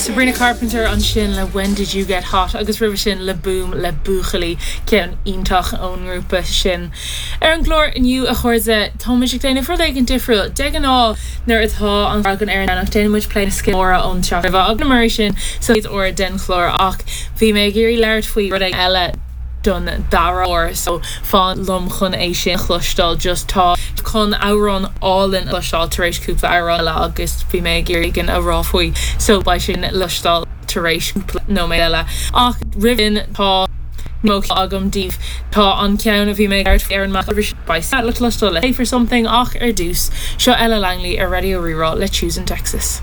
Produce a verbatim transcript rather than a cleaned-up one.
Sabrina Carpenter ansin le When Did You Get Hot agus roimhe sin Le Boom le Buachaillí ceann iontach ón ngrúpa sin. Ar an gclár inniu a chairde táimid ag déanamh rud éigin difriúil de ghnáth nuair atá an an ar an déanaimid plé na móra ón teach agus mar sin sa uair den chlár ach bhí mé ag iarraidh labhairt faoi rud eile don dara huair so fan liom chun é sin chloisteáil just tá chun amhrán álainn chloisteáil tar éis cúpla amhrán eile agus bhí mé ag iarraidh a rá faoi so beidh sin le cloisteáil tar éis cúpla nóiméad eile ach roimh tá mo agam daoibh tá an ceann a bhí mé ar ar an beidh le cloisteáil le for something ach ar dtús seo Ella Langley ar Raidió Rí-Rá le Choosing Texas.